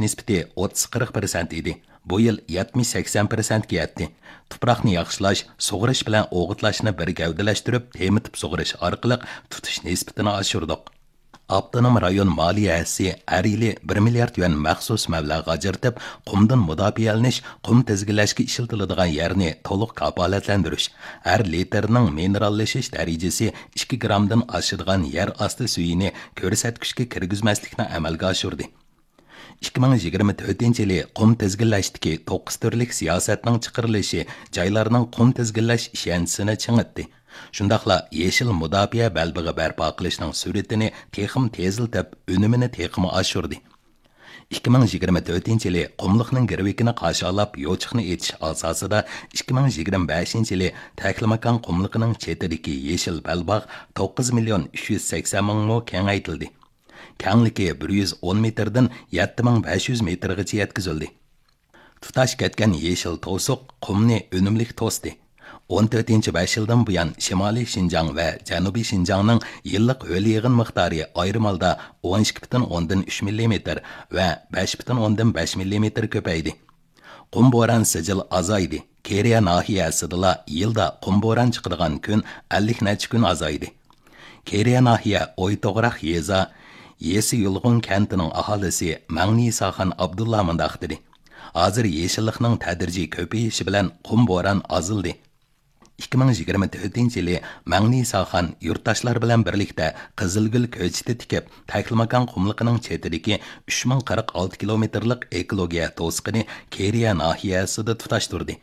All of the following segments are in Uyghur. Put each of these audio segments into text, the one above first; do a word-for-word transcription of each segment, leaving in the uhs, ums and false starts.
نىسبىتى ئوتتۇز قىرىق پىرسەنت ئىدى. بۇ يىل يەتمىش سەكسەن پىرسەنتكە يەتتى. تۇپراقنى ياخشىلاش، سۇغىرىش بىلەن ئوغۇتلاشنى بىر گەۋدىلەشتۈرۈپ، تېمىتىپ سۇغىرىش ئارقىلىق تۇتۇش نىسبىتىنى ئاشۇردۇق. ئاپتونوم رايون مالىيە ھەسسىسى ھەر يىلى بىر مىليارد يۈەن مەخسۇس مەبلەغ ئاجرىتىپ، قۇمدىن مۇداپىئەلىنىش، قۇم تىزگىنلەشكە ئىشلىتىلىدىغان يەرنى تولۇق كاپالەتلەندۈرۈش، ھەر لىتىرنىڭ مىنېراللىشىش دەرىجىسى ئىككى گرامدىن ئاشىدىغان يەر ئاستى سۈيىنى كۆرسەتكۈچكە كىرگۈزمەسلىكنى ئەمەلگە ئاشۇردى. ئىككى مىڭ يىگىرمە تۆتىنچى يىلى قۇم تىزگىنلەشتىكى توققۇز تۈرلۈك سىياسەتنىڭ چىقىرىلىشى جايلارنىڭ قۇم تىزگىنلەش ئىشەنچىسىنى چىڭىتتى. شۇنداقلا يېشىل مۇداپىئە بەلبېغى بەرپا قىلىشنىڭ سۈرئىتىنى تېخىمۇ تېزلىتىپ، ئۈنۈمىنى تېخىمۇ ئاشۇردى. ئىككى مىڭ يىگىرمە تۆتىنچى يىلى قۇملۇقنىڭ گىرۋىكىنى قارشى ئالاپ، يوچۇقنى ئېچىش ئاساسىدا ئىككى مىڭ يىگىرمە بەشىنچى يىلى تەكلىماكان قۇملۇقىنىڭ چېتىدىكى يېشىل بەلباغ توققۇز مىليون ئۈچ يۈز سەكسەن مىڭ مو كېڭەيتىلدى. كەڭلىكى بىر يۈز ئون مېتىردىن يەتتە مىڭ بەش يۈز مېتىرغىچە يەتكۈزۈلدى. تۇتاش كەتكەن يېشىل توسۇق قۇمنى ئۈنۈملۈك توستى. ئون تۆتىنچى بەش يىلدىن بۇيان شىمالىي شىنجاڭ ۋە جەنۇبىي شىنجاڭنىڭ يىللىق ھۆل يىغىن مىقدارى ئايرىم ھالدا ئون ئىككى پۈتۈن ئوندىن ئۈچ مىللىمېتىر ۋە بەش پۈتۈن ئوندىن بەش مىللىمېتىر كۆپەيدى. قۇم بوران سىجىل ئازايدى. كېرىيە ناھىيەسىدىلا يىلدا قۇم بوران چىقىدىغان كۈن ئەللىك نەچچە كۈن ئازايدى. كېرىيە ناھىيە ئويتوغراق يېزا يېسى يۇلغۇن كەنتىنىڭ ئاھالىسى مەڭنىساخان ئابدۇللا مۇنداق دېدى: ھازىر يېشىللىقنىڭ تەدرىجىي كۆپىيىشى بىلەن قۇم بوران ئازلىدى. ئىككى مىڭ يىگىرمە تۆتىنچى يىلى مەڭنىساخان يۇرتداشلار بىلەن بىرلىكتە قىزىلگۈل كۆچىتى تىكىپ، تەكلىماكان قۇملۇقىنىڭ چېتىدىكى ئۈچ مىڭ قىرىق ئالتە كىلومېتىرلىق ئېكولوگىيە توسۇقىنى كېرىيە ناھىيەسىدە تۇتاشتۇردى.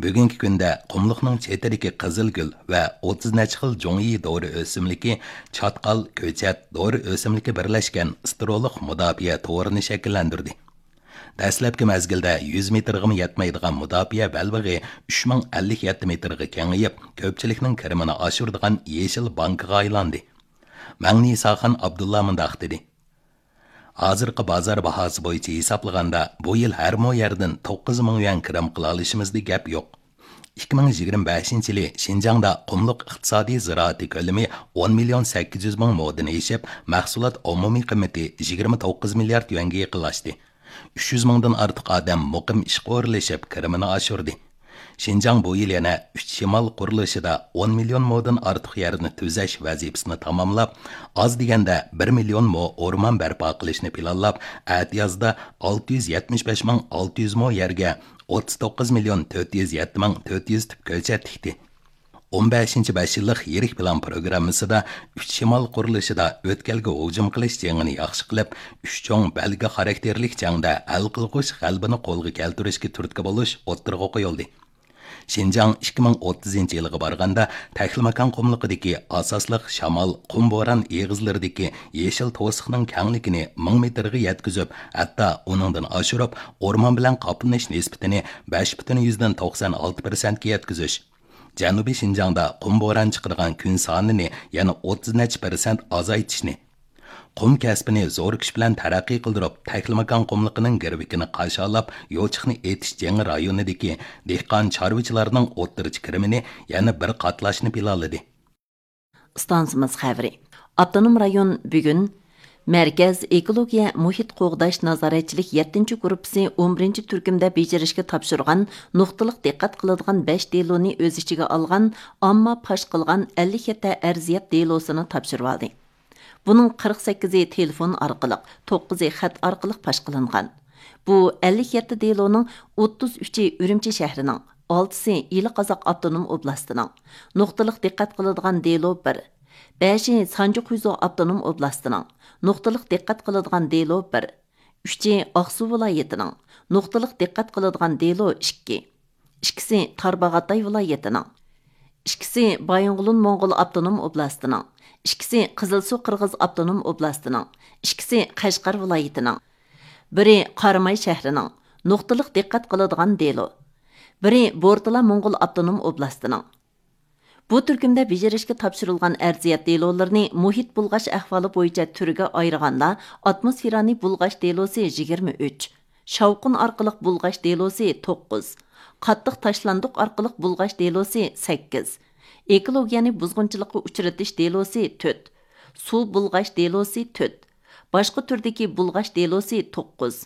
بۈگۈنكى كۈندە قۇملۇقنىڭ چېتىدىكى قىزىلگۈل ۋە ئوتتۇز نەچچە خىل جۇڭيى دورا ئۆسۈملۈكى، چاتقال، كۆچەت، دورا ئۆسۈملۈكى بىرلەشكەن سترولۇق مۇداپىئە تورىنى شەكىللەندۈردى. دەسلەپكى مەزگىلدە يۈز مېتىرغىمۇ يەتمەيدىغان مۇداپىئە بەلبېغى ئۈچ مىڭ ئەللىك يەتتە مېتىرغا كېڭىيىپ، كۆپچىلىكنىڭ كىرىمىنى ئاشۇرىدىغان يېشىل بانكىغا ئايلاندى. مەڭنىساخان ئابدۇللا مۇنداق دېدى: ھازىرقى بازار باھاسى بويىچە ھېسابلىغاندا، بۇ يىل ھەر مو يەردىن توققۇز مىڭ يۈەن كىرىم قىلالىشىمىزدا گەپ يوق. ئىككى مىڭ يىگىرمە بەشىنچى يىلى شىنجاڭدا قۇملۇق ئىقتىسادىي زىرائىتى كۆلىمى ئون مىليون سەككىز يۈز مىڭ مودىن ئېشىپ، مەھسۇلات ئومۇمىي قىممىتى يىگىرمە توققۇز مىليارد يۈەنگە يېقىنلاشتى. ئۈچ يۈز مىڭدىن ئارتۇق ئادەم مۇقىم ئىشقا ئورۇنلىشىپ، كىرىمىنى ئاشۇردى. شىنجاڭ بۇ يىل يەنە ئۈچ شىمال قۇرۇلۇشىدا ئون مىليون مودىن ئارتۇق يەرنى تۈزەش ۋەزىپىسىنى تاماملاپ، ئاز دېگەندە بىر مىليون مو ئورمان بەرپا قىلىشنى پىلانلاپ، ئەتىيازدا ئالتە يۈز يەتمىش بەش مىڭ ئالتە يۈز مو يەرگە ئوتتۇز توققۇز مىليون تۆت يۈز يەتتە مىڭ تۆت يۈز تۈپ كۆچەت تىكتى. ئون بەشىنچى بەش يىللىق يىرىك پىلان پروگراممىسىدا ئۈچ شىمال قۇرۇلۇشىدا ئۆتكەلگە ھۇجۇم قىلىش جېڭىنى ياخشى قىلىپ، ئۈچ چوڭ بەلگە خاراكتېرلىك جەڭدە ھەل قىلغۇچ غەلىبىنى قولغا كەلتۈرۈشكە تۈرتكە بولۇش ئوتتۇرىغا قويۇلدى. شىنجاڭ ئىككى مىڭ ئوتتۇزىنچى يىلغا بارغاندا تەكلىماكان قۇملۇقىدىكى ئاساسلىق شامال، قۇم بوران ئېغىزلىرىدىكى يېشىل توسۇقنىڭ كەڭلىكىنى مىڭ مېتىرغا يەتكۈزۈپ، ھەتتا ئۇنىڭدىن ئاشۇرۇپ، ئورمان بىلەن قاپلىنىش نىسبىتىنى بەش پۈتۈن يۈزدىن توقسان ئالتە پىرسەنتكە يەتكۈزۈش، جەنۇبىي شىنجاڭدا قۇم بوران چىقىدىغان كۈن سانىنى يەنە ئوتتۇز نەچچە پىرسەنت ئازايتىشنى، قۇم كەسپىنى زور كۈچ بىلەن تەرەققىي قىلدۇرۇپ، تەكلىماكان قۇملۇقىنىڭ گىرۋىكىنى قارشى ئالاپ، يوچۇقنى ئېتىش جېڭى رايونىدىكى دېھقان چارۋىچىلارنىڭ ئوتتۇرىچە كىرىمىنى يەنە بىر قاتلاشنى پىلانلىدى. ئىستانسىمىز خەۋىرى. ئاپتونوم رايون بۈگۈن مەركەز ئېكولوگىيە مۇھىت قوغداش نازارەتچىلىك يەتتىنچى گۇرۇپپىسى ئون بىرىنچى تۈركۈمدە بېجىرىشكە تاپشۇرغان نۇقتىلىق دىققەت قىلىدىغان بەش دېلونى ئۆز ئىچىگە ئالغان ئامما پاش قىلغان ئەللىك يەتتە ئەرزىيەت دېلوسىنى تاپشۇرۇۋالدى. بۇنىڭ قىرىق سەككىزى تېلېفون ئارقىلىق، توققۇزى خەت ئارقىلىق پاش قىلىنغان. بۇ ئەللىك يەتتە دېلونىڭ ئوتتۇز ئۈچى ئۈرۈمچى شەھىرىنىڭ، ئالتىسى ئىلى قازاق ئاپتونوم ئوبلاستىنىڭ. نۇقتىلىق دىققەت قىلىدىغان دېلو بىر، بەشى سانجى خۇيزۇ ئاپتونوم ئوبلاستىنىڭ. نۇقتىلىق دىققەت قىلىدىغان دېلو بىر، ئۈچى ئاقسۇ ۋىلايىتىنىڭ. نۇقتىلىق دىققەت قىلىدىغان دېلو ئىككى، ئىككىسى تارباغاتاي ۋىلايىتىنىڭ، ئىككىسى بايىنغولىن موڭغۇل ئاپتونوم ئوبلاستىنىڭ، ئىككىسى قىزىلسۇ قىرغىز ئاپتونوم ئوبلاستىنىڭ، ئىككىسى قەشقەر ۋىلايىتىنىڭ، بىرى قاراماي شەھىرىنىڭ. نۇقتىلىق دىققەت قىلىدىغان دېلو، بىرى بورتالا موڭغۇل ئاپتونوم ئوبلاستىنىڭ. بۇ تۈركۈمدە بېجىرىشكە تاپشۇرۇلغان ئەرزىيەت دېلولىرىنى مۇھىت بۇلغاش ئەھۋالى بويىچە تۈرگە ئايرىغاندا، ئاتموسفېرانى بۇلغاش دېلوسى يىگىرمە ئۈچ، شاۋقۇن ئارقىلىق بۇلغاش دېلوسى توققۇز، قاتتىق تاشلاندۇق ئارقىلىق بۇلغاش دېلوسى سەككىز، ئېكولوگىيەنى بۇزغۇنچىلىققا ئۇچرىتىش دېلوسى تۆت، سۇ بۇلغاش دېلوسى تۆت، باشقا تۈردىكى بۇلغاش دېلوسى توققۇز،